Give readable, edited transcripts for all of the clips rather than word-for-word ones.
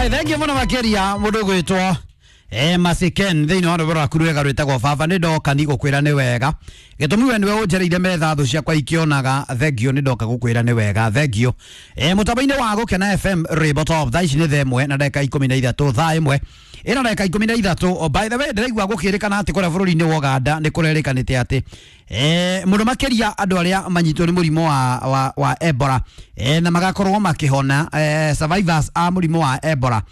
Ai, thank you muno makiria mundu gwitwo Masiken thiini wa rwĩmbo rwaku rwega rwĩtagwo baba nĩ ndoka ni gũkwĩra nĩ wega gĩtũmi we nĩwe ũnjereire metha thũ ciakwa ikĩonaga thengio nĩ ndoka gũkwĩra nĩ wega thengio. Mũtambo-inĩ wa Gũkena FM rwĩmbo top thaa ici nĩ thaa ĩmwe na ndagĩka 13, thaa ĩmwe ĩna ndagĩka 13. Oh, by the way, ndĩraigua gũkĩrĩkana atĩ kũrĩa bũrũri-inĩ wa Ũganda nĩ kũrerĩkanĩte atĩ mũno makĩria andũ arĩa manyitwo nĩ mũrimũ wa Ebola na magakorwo makĩhona, survivors a mũrimũ wa Ebola,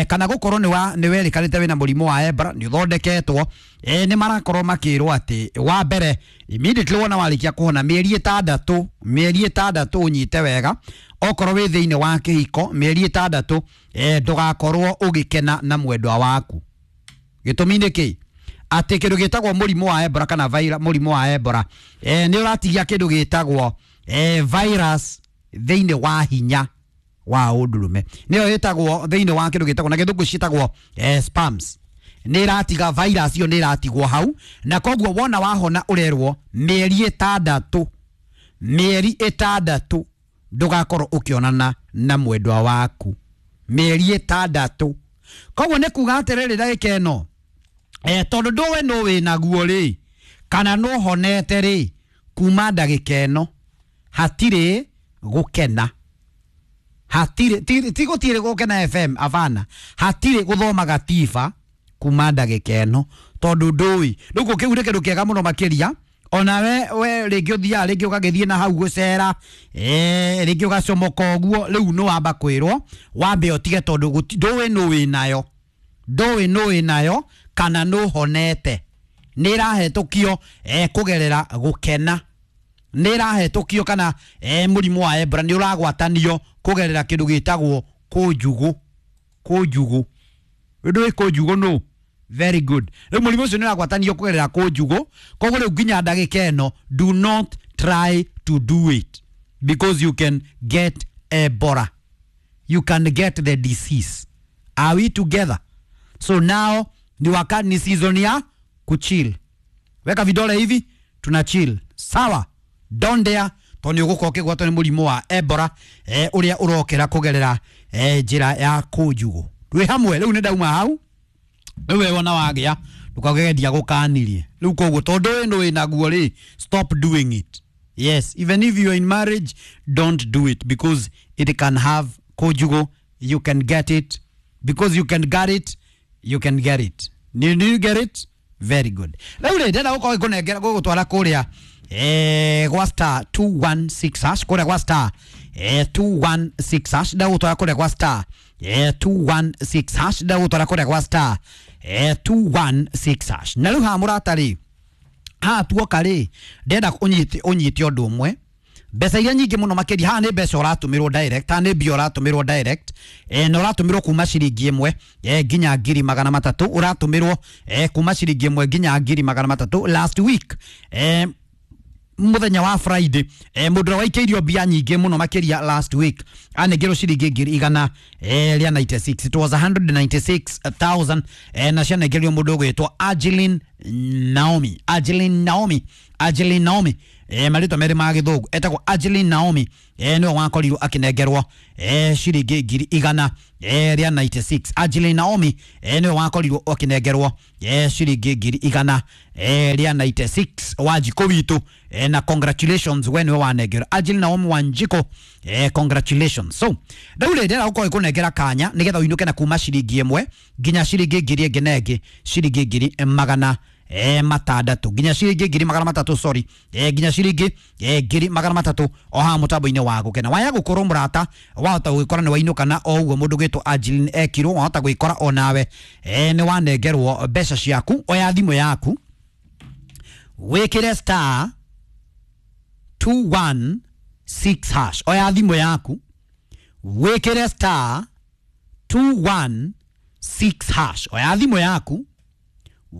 kana gũkorwo nĩ werĩkanĩte wĩna mũrimũ wa Ebola nĩ ũthondeketwo, nĩ marakorwo makĩrwo atĩ wa mbere immediately wona warĩkia kũhona mĩeri ĩtandatũ, mĩeri ĩtandatũ ũnyite wega, okorwo wĩ thĩinĩ wa kĩhiko mĩeri ĩtandatũ, ndũgakorwo ũgĩkena na mwendwa waku. Gĩtũmi nĩ kĩ? Atĩ kĩndũ gĩtagwo mũrimũ wa Ebola kana mũrimũ wa Ebola nĩ ũratigia kĩndũ gĩtagwo virus thĩinĩ wa hinya wa ũndũrũme, nĩyo ĩtagwo thĩinĩ wa kĩndũ gĩtagwo na gĩthũngũ ciĩtagwo spams. Nĩ ĩratiga virus ĩyo, nĩ ĩratigwo hau, na koguo wona wahona ũrerwo mĩeri ĩtandatũ, mĩeri ĩtandatũ ndũgakorwo ũkĩonana na mwendwa waku mĩeri ĩtandatũ. Koguo nĩ kuga atĩrĩrĩ, ndagĩka ĩno, tondũ ndũĩ nũ wĩnaguo rĩ kana nũ honete rĩ, kuma ndagĩka ĩno hatirĩ gũkena, hatirĩ ti gũtirĩ Gũkena FM, abana, hatirĩ gũthoma gatiba kuma ndagĩka ĩno tondũ ndũĩ. Rĩu kĩu nĩ kĩndũ kĩega mũno makĩria ona we rĩngĩ ũthiaga rĩngĩ ũgagĩthiĩ na hau gũcera, rĩngĩ ũgacomoka ũguo, rĩu nĩ wamba kwĩrwo wambe ũtige tondũ ndũĩ nũ wĩnayo, ndũĩ nũ wĩnayo kana nũ honete. Nĩ ĩrahetũkio kũgerera gũkena, nĩ ĩrahetũkio kana mũrimũ wa Ebola nĩ ũragwatanio kũgerera kĩndũ gĩtagwo kũnjugũ. Kũnjugũ, ndũĩ kũnjugũ nũ? Very good. Rĩu mũrimũ ũcio nĩ ũragwatanio kũgerera kũnjugũ, koguo rĩu nginya ndagĩka ĩno do not try to do it because you can get Ebola, you can get the disease. Are we together? So now ni wakati, ni season ya kuchill. Weka vidole hivi, tuna chill, sawa? Don't dare, tondũ nĩ ũgũkorwo ũkĩgwatwo nĩ mũrimũ wa Ebola ũrĩa ũrokera kũgerera njĩra ya kũnjugũ. Twĩ hamwe rĩu nĩ ndauma hau. Rĩu we wona wagĩa ndũkageria gũkanirie rĩu, koguo tondũ wĩ nĩ wĩnaguo rĩ, stop doing it. Yes, even if you are in marriage, don't do it because it can have kũnjugũ, you can get it because you can get it, you can get it. Do you get it? Very good. Rĩu rĩ, ndĩrenda gũkorwo ngũnengera gũgũtwara kũrĩa gwa star 216 hash, kũrĩa gwa star 216 hash, ndagũtwara kũrĩa gwa star 216 hash, ndagũtwara kũrĩa gwa star 216 hash. Na rĩu haha mũrata rĩ, haha tuoka rĩ, ndĩrenda ũnyite ũndũ ũmwe. Mbeca iria nyingĩ mũno makĩria haha nĩ mbeca ũratũmĩrwo direct, haha nĩ mbia ũratũmĩrwo direct, na ũratũmĩrwo kuma ciringi ĩmwe nginya 300,000, ũratũmĩrwo kuma ciringi ĩmwe nginya 300,000. Last week, muthenya wa Friday, mũndũ ũrĩa waikĩirio mbia nyingĩ mũno makĩria last week anengerwo ciringi 196,000. It was 196,000, na cianengerio mũndũ ũgwĩtwo Angeline Naomi, Angeline Naomi, Angeline Naomi, marĩtwa merĩ ma gĩthũngũ, etagwo Angeline Naomi, nĩwe wakorirwo akĩnengerwo ciringi 196,000. Angeline Naomi, nĩwe wakorirwo akĩnengerwo ciringi 196,000. Wanjikũ witũ, na congratulations, we nĩwe wanengerwo, Angeline Naomi Wanjikũ, congratulations. So rĩu rĩ, ndĩrenda gũkorwo ĩkũnengera kanya nĩgetha ũinũke na kuma ciringi ĩmwe nginya ciringi ngiri ĩngĩ na ĩngĩ, ciringi 600,000 nginya ciringi 300,000, sorry, nginya ciringi 300,000 o haha mũtambo-inĩ wa Gũkena. Waya gũkorwo mũrata, wahota gũgĩkora nĩ wainũka na o ũguo mũndũ gwĩtwo Angeline ekirwo, wahota gwĩkora o nawe nĩ wanengerwo mbeca ciaku. Oya thimũ yaku wĩkĩre star 216 hash. Oya thimũ yaku wĩkĩre star 216 hash. Oya thimũ yaku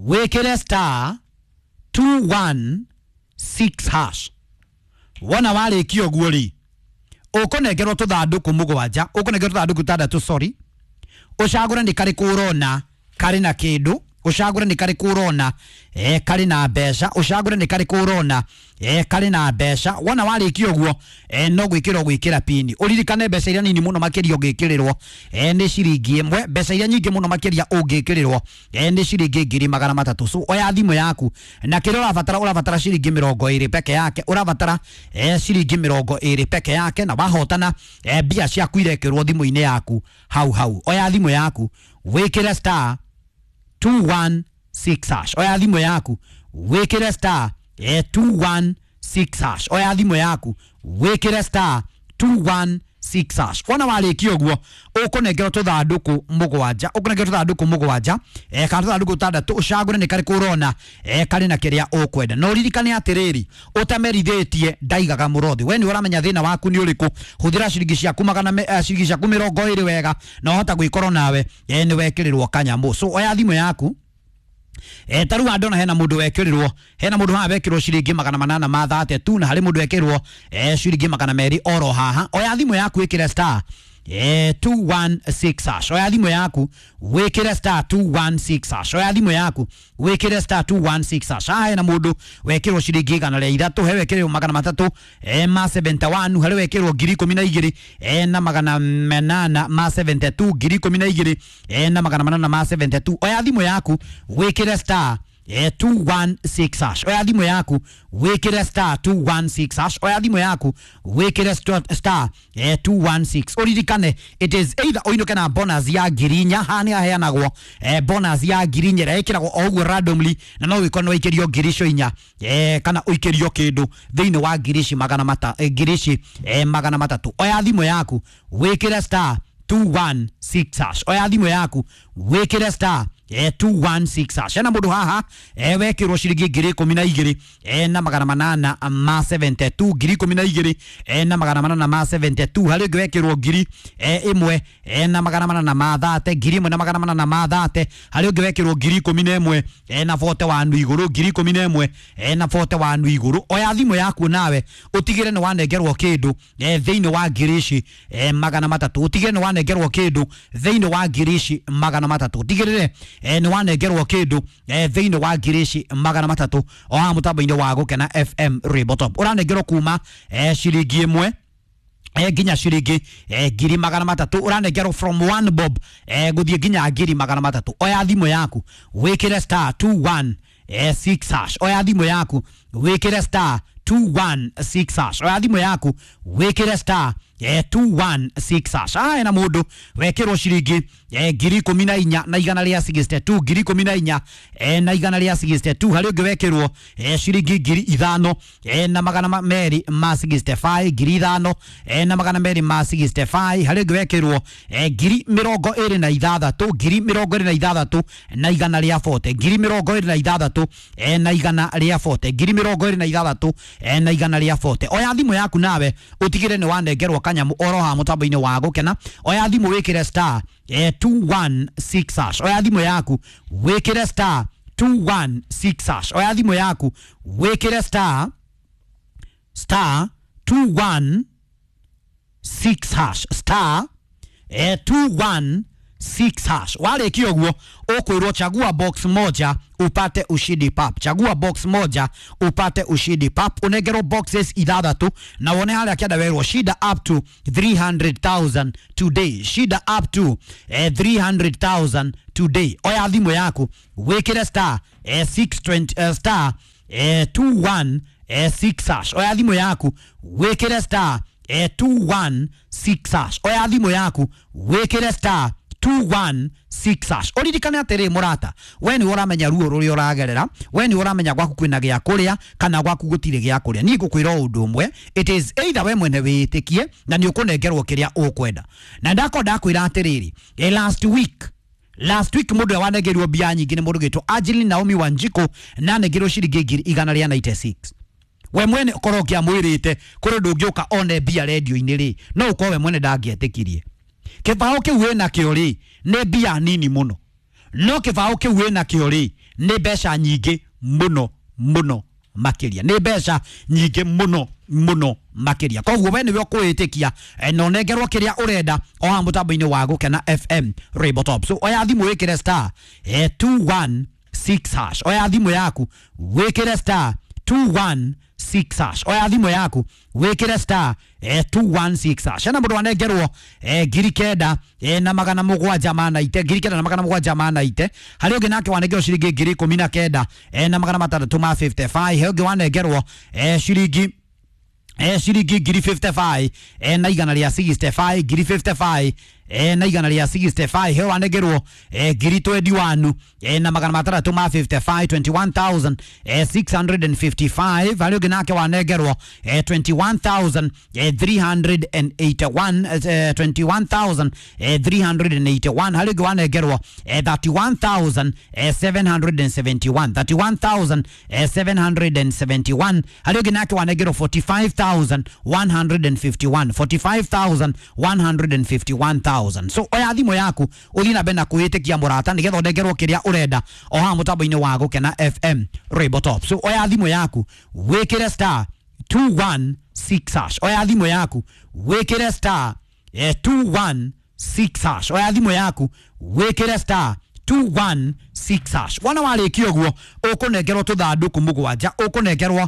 wĩkĩre star 216 hash. Wona warĩkia ũguo rĩ, ũkũnengerwo tũthandũkũ mũgwanja, ũkũnengerwo tũthandũkũ tũtandatũ, sorry, ũcagũre nĩ karĩkũ ũrona karĩ na kĩndũ. Ũcagũre nĩ karĩkũ ũrona karĩ na mbeca. Ũcagũre nĩ karĩkũ ũrona karĩ na mbeca. Wona warĩkia ũguo, no gwĩkĩra ũgwĩkĩra pini. Ũririkane mbeca iria nini mũno makĩria ũngĩkĩrĩrwo nĩ ciringi 1, mbeca iria nyingĩ mũno makĩria ũngĩkĩrĩrwo nĩ ciringi 300,000. So oya thimũ yaku na kĩrĩa ũrabatara, ũrabatara ciringi 20 peke yake, ũrabatara ciringi 20 peke yake, na wahotana mbia ciaku irekĩrwo thimũ-inĩ yaku hau hau. Oya thimũ yaku wĩkĩre star 216 hash. Oya thimũ yaku wĩkĩre star 216 hash. Oya thimũ yaku wĩkĩre star 216 hash. Wona warĩkia ũguo, ũkũnengerwo tũthandũkũ mũgwanja, ũkũnengerwo tũthandũkũ mũgwanja kana tũthandũkũ tũtandatũ. Ũcagũre nĩ karĩkũ ũrona karĩ na kĩrĩa ũkwenda. Na ũririkane atĩrĩrĩ, ũtamerithĩtie ndaigaga mũrothi. We nĩ ũramenya thĩna waku nĩ ũrĩkũ. Hũthĩra ciringi ciaku ciringi ciaku 20 wega, na ũhota gwĩkorwo nawe nĩ wekĩrĩrwo kanyamũ. So oya thimũ yaku. Taru andona hena mundu wekĩrĩrwo, hena mundu haha wekĩrwo ciringi 832, na harĩ mundu wekĩrwo ciringi 200 oro haha. Oya thimũ yaku ĩkĩre star 216 hash. Oya thimũ yaku wĩkĩre star 216 hash. Oya thimũ yaku wĩkĩre star 216 hash. Haha hena mundu wekĩrwo ciringi 103, he wekĩrwo 371, harĩ wekĩrwo 12,872, 12,872. Oya thimũ yaku wĩkĩre star 216 hash. Oya thimũ yaku wĩkĩre star 216 hash. Oya thimũ yaku wĩkĩre star 216. Ũririkane it is either ũinũke na bonus ya 4,000. Haha nĩ haheanagwo bonus ya 4,000 ĩrĩa ĩkĩragwo o ũguo randomly, na no wĩkorwo nĩ waikĩrio 4,000 kana ũikĩrio kĩndũ thĩinĩ wa ngiri ici 300. Oya thimũ yaku wĩkĩre star 216 hash. Oya thimũ yaku wĩkĩre star 216 hash. Hena mũndũ haha wekĩrwo ciringi 12,872, 12,872. Harĩ ũngĩ wekĩrwo 1,830, 1,830. Harĩ ũngĩ wekĩrwo 11,000 na 41 igũrũ, 11,000 na 41 igũrũ. Oya thimũ yaku nawe ũtigĩre nĩ wanengerwo kĩndũ thĩinĩ wa ngiri ici 300. Ũtigĩre nĩ wanengerwo kĩndũ thĩinĩ wa ngiri ici 300. Ũtigĩrĩre nĩ wanengerwo kĩndũ thĩinĩ wa ngiri ici 300 o haha mũtambo-inĩ wa Gũkena FM Rainbow Top. Ũranengerwo kuma ciringi 1 nginya ciringi 300,000. Ũranengerwo from 1 bob gũthiĩ nginya 300,000. Oya thimũ yaku wĩkĩre star 216 hash. Oya thimũ yaku wĩkĩre star 216 hash. Oya thimũ yaku wĩkĩre star 216 hash. Haha hena mũndũ wekĩrwo ciringi 14,162, 14,162. Harĩ ũngĩ wekĩrwo ciringi 5,265, 5,265. Harĩ ũngĩ wekĩrwo 26,000, 26,140, 26,140, 26,140. Oya thimũ yaku nawe ũtigĩre nĩ wanengerwo kanyamũ oro haha mũtambo-inĩ wa Gũkena. Oya thimũ wĩkĩre star 216 hash. Oya thimũ yaku wĩkĩre star 216 hash. Oya thimũ yaku wĩkĩre star 216 hash, star 216 hash. Warĩkia ũguo ũkwĩrwo chagua box moja upate ushindi pap. Chagua box moja upate ushindi pap. Unengerwo boxes 6 na wone harĩa kĩanda werwo shida up to 300,000 today. Shida up to 300,000 today. Oya thimũ yaku wĩkĩre star 620 star 216 hash. Oya thimũ yaku wĩkĩre star 216 hash. Oya thimũ yaku wĩkĩre star 216 hash. Ũririkane atĩrĩ mũrata, we nĩ ũramenya ruo rũrĩa ũragerera, we nĩ ũramenya gwaku kwĩna gĩa kũrĩa kana gwaku gũtirĩ gĩa kũrĩa. Niĩ ngũkwĩra o ũndũ ũmwe, it is either we mwene wĩĩtĩkie na nĩ ũkũnengerwo kĩrĩa ũkwenda. Na ndakorwo ndakwĩra atĩrĩrĩ, last week mũndũ ũrĩa wanengerirwo mbia nyingĩ nĩ mũndũ ũgĩtwo Angeline Naomi Wanjikũ, na anengerirwo ciringi 196,000. We mwene ũkorwo ũngĩamwĩrĩte kũrĩ ũndũ ũngĩũka one mbia redio-inĩ rĩ, no ũkorwo we mwene ndangĩetĩkirie. Kĩbaũ kĩu wĩna kĩo rĩ nĩ mbia nini mũno, no kĩbaũ kĩu wĩna kĩo rĩ nĩ mbeca nyingĩ mũno mũno makĩria, nĩ mbeca nyingĩ mũno mũno makĩria. Koguo we nĩwe ũkwĩĩtĩkia na ũnengerwo kĩrĩa ũrenda o haha mũtambo-inĩ wa Gũkena FM Rainbow Top. So oya thimũ wĩkĩre star 216 6 hash. Oya thimũ yaku wĩkĩre star 216 hash. Oya thimũ yaku wĩkĩre star 216 hash. Hena mũndũ wanengerwo 9,700 na 9,790. Harĩ ũngĩ nake wanengerwo ciringi 19,655 he ũngĩ wanengerwo ciringi ciringi 55 na igana rĩa 65 55 na igana rĩa 65 he wanengerwo 21 na 655 21,655. Harĩ ũngĩ nake wanengerwo 21,381 21,381. Harĩ ũngĩ wanengerwo 31,771 31,771. Harĩ ũngĩ nake wanengerwo 45,151 45,151,000. So oya thimũ yaku ũthiĩ na mbere na kwĩĩtĩkia mũrata nĩgetha ũnengerwo kĩrĩa ũrenda o haha mũtambo-inĩ wa Gũkena FM Rainbow Top. So oya thimũ yaku wĩkĩre star 216 hash. Oya thimũ yaku wĩkĩre star 216 hash. Oya thimũ yaku wĩkĩre star 216 hash. Wona warĩkia ũguo ũkũnengerwo tũthandũkũ mũgwanja, ũkũnengerwo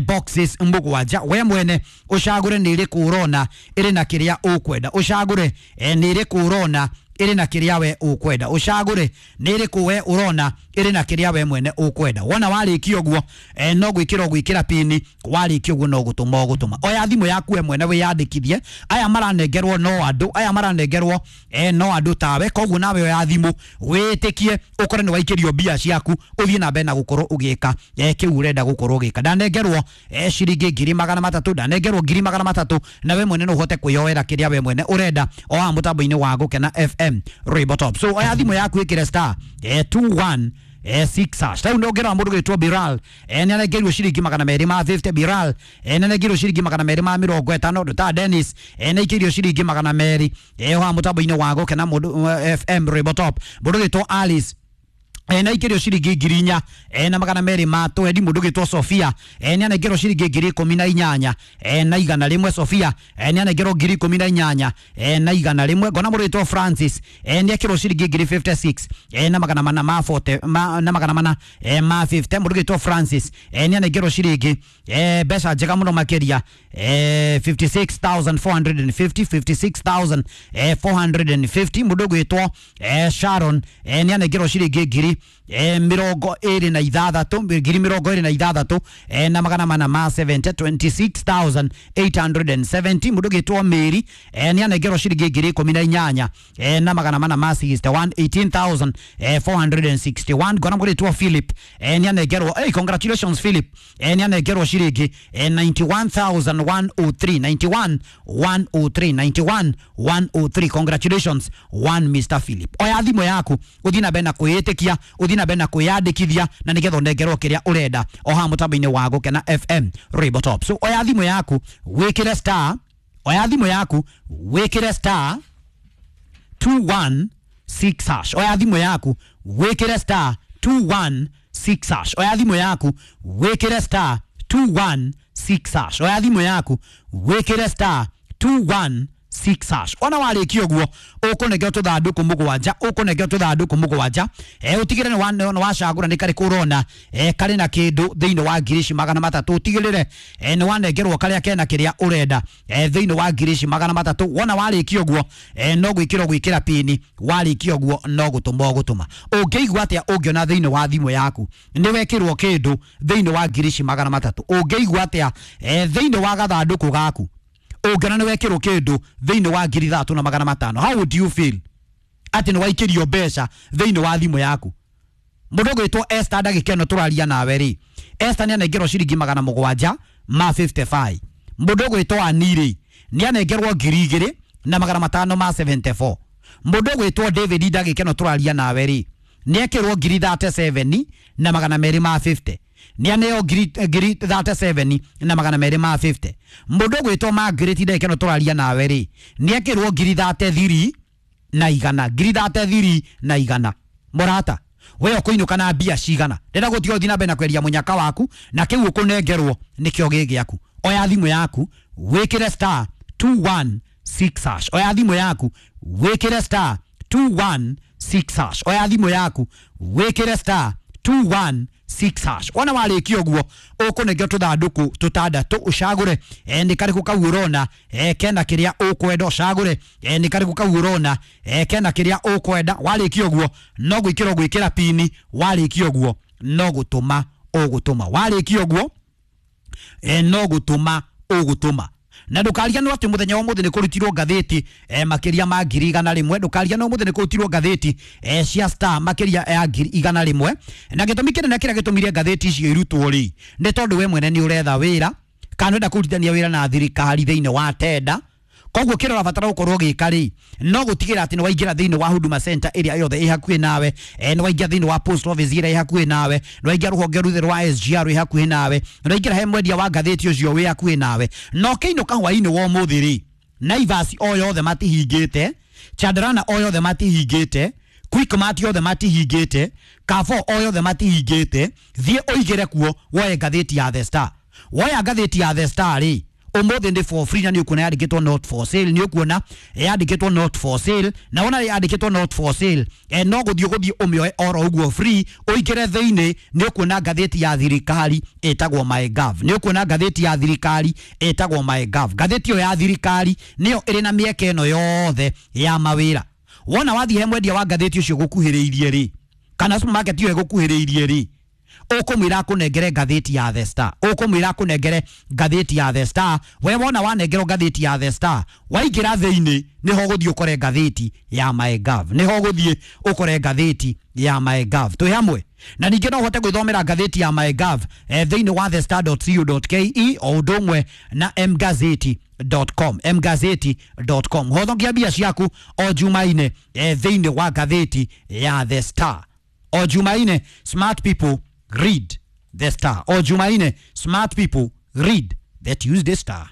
boxes mũgwanja. We mwene ũcagũre nĩ ĩrĩkũ ũrona ĩrĩ na kĩrĩa ũkwenda, ũcagũre nĩ ĩrĩkũ ũrona ĩrĩ na kĩrĩa we ũkwenda, ũcagũre nĩ ĩrĩkũ we ũrona ĩrĩ na kĩrĩa we mwene ũkwenda. Wona warĩkia ũguo no gwĩkĩra ũgwĩkĩra pini, warĩkia ũguo no gũtũma ũgũtũma. Oya thimũ yaku we mwene wĩyandĩkithie. Aya maranengerwo no andũ, aya maranengerwo no andũ tawe, koguo nawe oya thimũ wĩtĩkie ũkore nĩ waikĩrio mbia ciaku ũthiĩ na mbere na gũkorwo ũgĩka kĩu ũrenda gũkorwo ũgĩka. Ndanengerwo ciringi 300,000, ndanengerwo 300,000, na we mwene no ũhote kwĩyoera kĩrĩa we mwene ũrenda o haha mũtambo-inĩ wa Gũkena FM Rainbow Top. So oya thimũ yaku ĩkĩre star 21 6 hash. Rĩu ndongerera mũndũ gwĩtwo Biral nĩ anengerirwo ciringi 250. Biral nĩ anengerirwo ciringi 250. Ndũ Dennis nĩ aikĩirio ciringi 200 o haha mũtambo-inĩ wa Gũkena mũndũ FM Rainbow Top. Mũndũ gwĩtwo Alice na ikĩrio ciringi 4,200 na 20. Mũndũ gĩtwo Sofia nĩ anengerwo ciringi 18,100 na 100. Sofia nĩ anengerwo 18,100 na 100. Ngona mũndũ gĩtwo Francis nĩ ekĩrwo ciringi 56 na 400 ma 40 na 400 ma 50. Mũndũ gĩtwo Francis nĩ anengerwo ciringi mbeca njega mũno makĩria 56,450 56,450. Mũndũ gwĩtwo Sharon nĩ anengerwo ciringi 26,000 26 na 470 26,870. Mũndũ gĩtwo Mary nĩ anengerwo ciringi 18,461 na 18,461. Ngona mũndũ gĩtwo Philip nĩ anengerwo, hey, congratulations Philip, nĩ anengerwo ciringi 91,103 91,103 91,103. Congratulations one Mr Philip. Oya thimũ yaku ũthiĩ na mbere na kwĩĩtĩkia, ũthiĩ na mbere na kwĩyandĩkithia na nĩgetha ũnengerwo kĩrĩa ũrenda o haha mũtambo-inĩ wa Gũkena FM Rainbow Top. So oya thimũ yaku wĩkĩre star, oya thimũ yaku wĩkĩre star 216 hash. Oya thimũ yaku wĩkĩre star 216 hash. Oya thimũ yaku wĩkĩre star 216 hash. Oya thimũ yaku wĩkĩre star 216 hash. Ona warĩkia ũguo ũkũnengerwo tũthandũkũ mũgwanja, ũkũnengerwo tũthandũkũ mũgwanja ũtigĩrĩre nĩ wacagũra nĩ karĩkũ ũrona karĩ na kĩndũ thĩinĩ wa 300,000. Ũtigĩrĩre nĩ wanengerwo karĩa kena kĩrĩa ũrenda thĩinĩ wa 300,000. Wona warĩkia ũguo no gwĩkĩra ũgwĩkĩra pini, warĩkia ũguo no gũtũma ũgũtũma. Ũngĩigua atĩa ũngĩona thĩinĩ wa thimũ yaku nĩ wekĩrwo kĩndũ thĩinĩ wa 300,000? Ũngĩigua atĩa thĩinĩ wa gathandũkũ gaku ũngĩona nĩ wekĩrwo kĩndũ thĩinĩ wa 3,500? How would you feel atĩ nĩ waikĩrio mbeca thĩinĩ wa thimũ yaku? Mũndũ ũgwĩtwo Esther ndagĩka ĩno tũraria nawe rĩ, Esther nĩ anengerwo ciringi 755. Mũndũ ũgwĩtwo Ani rĩ, nĩ anengerwo 2,574. Mũndũ ũgwĩtwo David ndagĩka ĩno tũraria nawe rĩ, nĩ ekĩrwo 37 na 250. Nĩ aneo 37 na 250. Mũndũ ũgwĩtwo Margaret ndagĩka ĩno tũraria nawe rĩ, nĩ ekĩrwo 33 na 100 33 na 100. Mũrata we ũkũinũka na mbia cigana? Ndĩrenda gũtiga ũthiĩ na mbere na kweria mũnyaka waku na kĩu ũkũnengerwo nĩkĩo gĩ gĩaku. Oya thimũ yaku wĩkĩre star 216 hash. Oya thimũ yaku wĩkĩre star 216 hash. Oya thimũ yaku wĩkĩre star 216 hash. Wona warĩkia ũguo ũkũnengera tũthandũkũ tũtandatũ ũcagũre nĩ karĩkũ kau ũrona kena kĩrĩa ũkwenda, ũcagũre nĩ karĩkũ kau ũrona kena kĩrĩa ũkwenda. Warĩkia ũguo no gwĩkĩra ũgwĩkĩra pini, warĩkia ũguo no gũtũma ũgũtũma, warĩkia ũguo no gũtũma ũgũtũma. Na ndũkariganĩrwo atĩ mũthenya wa ũmũthĩ nĩ kũrutirwo ngathĩti makĩria ma 100,000. Ndũkariganĩrwo ũmũthĩ nĩ kũrutirwo ngathĩti cia Star makĩria ya 100,000. Na gĩtũmi kĩnene kĩrĩa gĩtũmire ngathĩti icio irutwo rĩ, nĩ tondũ we mwene nĩ ũretha wĩra kana ũrenda kũrutithania wĩra na thirikari thĩinĩ wa tenda. Koguo kĩrĩa ũrabatara gũkorwo ũgĩka rĩ, no gũtigĩra atĩ nĩ waingĩra thĩinĩ wa Huduma Center ĩrĩa yothe ĩ hakuhĩ nawe, nĩ waingĩra thĩinĩ wa post office ĩrĩa ĩ hakuhĩ nawe, nĩ waingĩra rũhonge ruthe rwa SGR rwĩ hakuhĩ nawe, nĩ waingĩra he mwendia wa ngathĩti ũcio wĩ hakuhĩ nawe. Na ũkĩinũka hwaĩ-inĩ wa ũmũthĩ rĩ, Naivas o yothe matihingĩte, Chandarana o yothe matihingĩte, Quickmart yothe matihingĩte, Carrefour o yothe matihingĩte, thiĩ ũigĩre kuo woe ngathĩti ya The Star. Woya ngathĩti ya The Star rĩ, ũmũthĩ nĩ for free, na nĩ ũkuona yandĩkĩtwo not for sale, nĩ ũkuona yandĩkĩtwo not for sale, na wona yandĩkĩtwo not for sale no gũthiĩ ũgũthiĩ ũmĩoe oro ũguo free, ũingĩre thĩinĩ nĩ ũkuona ngathĩti ya thirikari ĩtagwo MyGov, nĩ ũkuona ngathĩti ya thirikari ĩtagwo MyGov. Ngathĩti ĩyo ya thirikari nĩyo ĩrĩ na mĩeke ĩno yothe ya mawĩra. Wona wathiĩ he mwendia wa ngathĩti ũcio gũkuhĩrĩirie rĩ, kana supermarket ĩyo ĩgũkuhĩrĩirie rĩ, ũkũmwĩra akũnengere ngathĩti ya The Star, ũkũmwĩra akũnengere ngathĩti ya The Star. We wona wanengerwo ngathĩti ya The Star, waingĩra thĩinĩ nĩho ũgũthiĩ ũkore ngathĩti ya MyGov, nĩho ũgũthiĩ ũkore ngathĩti ya MyGov. Twĩ hamwe. Na ningĩ no ũhote gwĩthomera ngathĩti ya MyGov thĩinĩ wa thestar.co.ke o ũndũ ũmwe na mgazeti.com, mgazeti.com. Hothokia mbia ciaku o Jumaine thĩinĩ wa ngathĩti ya The Star. O Jumaine, smart people read The Star. O Jumaine, smart people read the Tuesday Star.